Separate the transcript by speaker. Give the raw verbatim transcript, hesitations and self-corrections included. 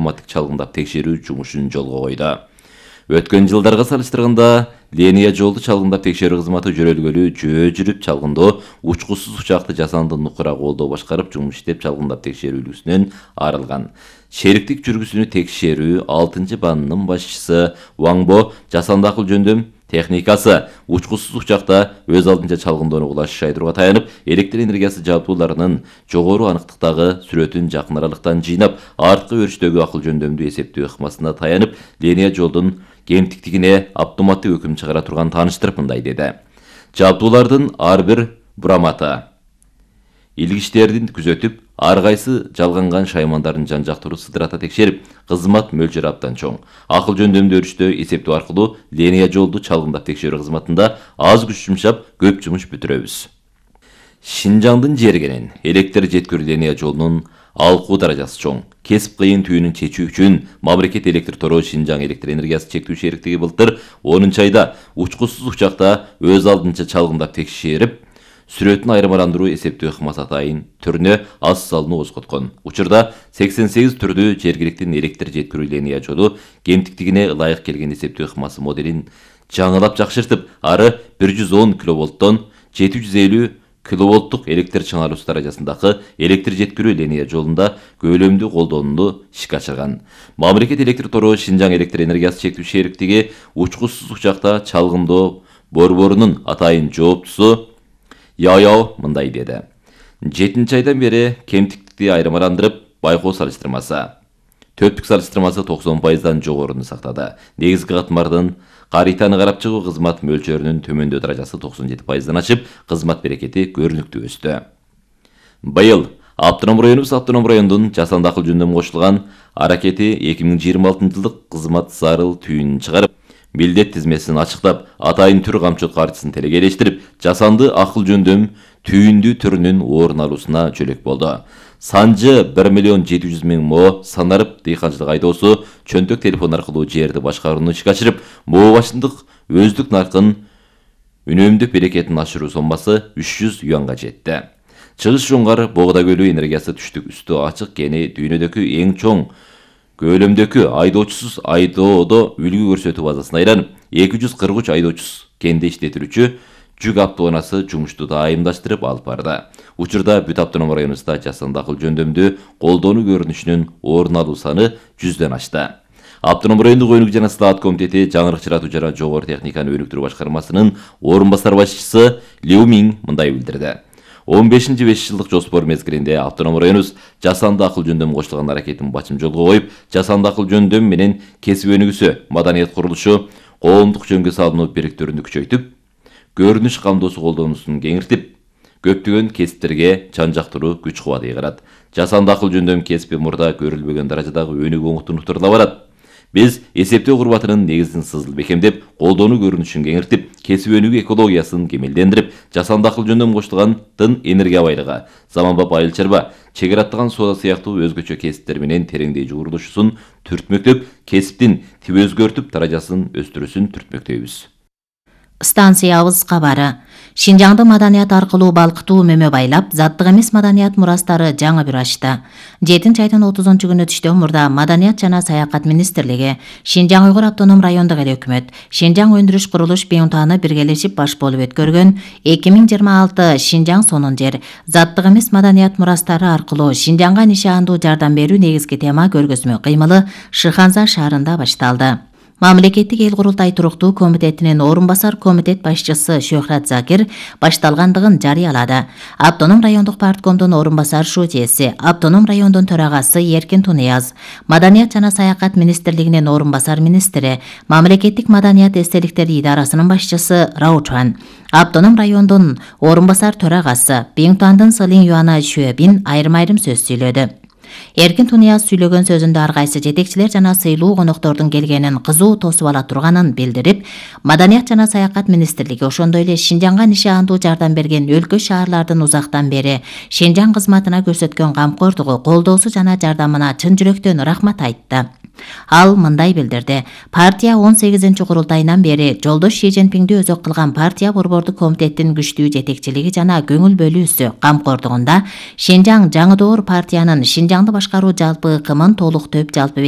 Speaker 1: автоматтык чалгындап текшерүү жумушун жолго койду. Өткөн жылдарга салыштырганда линия жолду чалгындап текшерүү кызматы жөрөлгөлүү жөө жүрүп чалгындоо учкусуз учакты жасанды нукура колдоо башкарып жумуш иштеп чалгындап текшерүүлүгүнөн арылган. Шериктик жүргүсүнү текшерүү алтынчы баанынын башчысы Ваңбо жасанды акыл жөндөм техникасы учкусуз учакта өз алдынча чалгындоону улаш шайдырууга таянып, электр энергиясы жабдууларынын жогору аныктыктагы сүрөтүн жакын аралыктан жыйнап, арткы өрүштөгү акыл жөндөмдүү эсептөө ыкмасына таянып, линия жолдун кемтиктигине автоматтык өкүм чыгара турган тааныштырып мындай деди. Жабдуулардын ар бир бураматы илгичтердин күзөтүп, ар кайсы жалганган шаймандардын жан-жактуу сыдырата текшерип, кызмат мөлчөрү абдан чоң. Акыл жөндөмдүү өрүштө эсептөө аркылуу линия жолду чалгындап текшерүү кызматында аз күч жумшап, көп жумуш бүтүрөбүз. Шинжаңдын жергенин электр жеткирүү линия жолунун алкуу даражасы чоң. Кесип кыйын түйүнүн чечүү үчүн мамлекет электр тору Шинжаң электр энергиясы чектүү шериктиги былтыр онунчу айда учкусуз учакта өз алдынча чалгындап текшерип, сүрөтүн айырмаландыруу эсептөө ыкмасы атайын түрүнө аз салууну козготкон. Учурда сексен сегиз түрдүү жергиликтин электр жеткирүү линия жолу кемтиктигине ылайык келген эсептөө ыкмасы моделин жаңылап жакшыртып, ары бир жүз он киловолттон жети жүз элүү киловолттук электр чыңалуусу даражасындагы электр жеткирүү линия жолунда көөлөмдүү колдонууну ишке ашырган. Мамлекет электр тору Шинжаң электр энергиясы чектүү шериктиги учкусуз учакта чалгындоо борборунун атайын жооптусу Яяо мындай деди. жетинчи айдан бери кемтиктикти айырмаландырып, байкоо салыштырмасы төрттүк салыштырмасы токсон пайыздан жогоруну сактады. Негизги катмардын каританы карап чыгуу кызмат мөлчөрүнүн төмөндөө даражасы токсон жети пайыздан ашып, кызмат берекети көрүнүктүү өстү. Быйыл Автоном районубуз автоном райондун жасанды акыл жөндөмү кошулган аракети эки миң жыйырма алтынчы жылдык кызмат зарыл түйүнүн чыгарып, милдет тизмесин ачыктап, атайын түр камчылык картасын телегелештирип, жасанды акыл жөндөм түйүндүү түрүнүн орун алуусуна жөлөк болду. Санжы бир миллион жети жүз миң мо санарып дыйканчылык айдоосу чөнтөк телефон аркылуу жерди башкарууну ишке ашырып, мо башындык өздүк наркын үнөмдөп берекетин ашыруу соммасы үч жүз юанга жетти. Чыгыш жоңгар Богда көлү энергиясы түштүк үстү ачык кени дүйнөдөгү эң чоң көлөмдөгү айдоочусуз айдоодо үлгү көрсөтүү базасына айланып, эки жүз кырк үч айдоочусуз кенде иштетилүүчү жүк автоунаасы жумушту дайымдаштырып алып барды. Учурда бүт автоном районубузда жасанды акыл жөндөмдүү колдонуу көрүнүшүнүн орун алуу саны жүздөн ашты. Автоном райондук өнүгүү жана слаат комитети жаңырык чыгаратуу жана жогору техниканы өнүктүрүү башкармасынын орун басар башчысы Лю Миң мындай билдирди. он бешинчи беш жылдык жоспор мезгилинде автоном районубуз жасанды акыл жөндөм кошулган аракетин бачым жолго коюп, жасанды акыл жөндөм менен кесип өнүгүүсү, маданият курулушу, коомдук жөнгө салынуу бириктөрүнү күчөйтүп, көрүнүш камдоосу колдонуусун кеңиртип, көптөгөн кесиптерге жан-жактуу күч кубат ыйгарат. Жасанды акыл жөндөм кесипи мурда көрүлбөгөн даражадагы өнүгүү оңтунуктурла барат. Биз эсептөө курбатынын негизин сызыл бекемдеп, колдонуу көрүнүшүн кеңиртип, кесип өнүгүү экологиясын кемелдендирип, жасанды акыл жөндөм кошулган тын энергия байлыгы, заманбап айыл чарба, чегер аттаган соода сыяктуу өзгөчө кесиптер менен тереңдей жуурулушусун түртмөктөп, кесиптин тип өзгөртүп, даражасын өстүрүүсүн түртмөктөйбүз.
Speaker 2: Станциябыз кабары. Шинжаңды маданият аркылуу балкытуу мөмө байлап, заттык эмес маданият мурастары жаңы бир ачты. жетинчи айдын отузунчу күнү түштө мурда Маданият жана саякат министрлиги, Шинжаң Уйгур автоном райондук эл өкмөт, Шинжаң өндүрүш курулуш бюнтаны биргелешип баш болуп өткөргөн эки миң жыйырма алты Шинжаң сонун жер, заттык эмес маданият мурастары аркылуу Шинжаңга нишандуу жардам берүү негизги тема көргөзмө кыймылы Шыханза шаарында башталды. Мамлекеттик эл курултай туруктуу комитетинин орун басар комитет башчысы Шөхрат Закир башталгандыгын жарыялады. Автоном райондук парткомдун орун басар шутиеси, автоном райондун төрагасы Эркин Тунияз, Маданият жана саякат министрлигинин орун басар министри, Мамлекеттик маданият эстеликтери идарасынын башчысы Раучан, автоном райондун орун басар төрагасы Биңтуандын Сылин Юана Шөбин айрым-айрым сөз сүйлөдү. Эркин Тунияз сүйлөгөн сөзүндө ар кайсы жетекчилер жана сыйлуу коноктордун келгенин кызуу тосуп ала турганын билдирип, Маданият жана саякат министрлиги ошондой эле Шинжаңга нишандуу жардам берген өлкө шаарлардын узактан бери Шинжаң кызматына көрсөткөн камкордугу, колдоосу жана жардамына чын жүрөктөн рахмат айтты. Ал мындай билдирди: партия он сегизинчи курултайынан бери жолдош Ши Цзиньпинди өзөк кылган партия борбордук комитеттин күчтүү жетекчилиги жана көңүл бөлүүсү камкордугунда Шинжаң жаңы доор партиянын Шинжаңды башкаруу жалпы ыкымын толук төп жалпы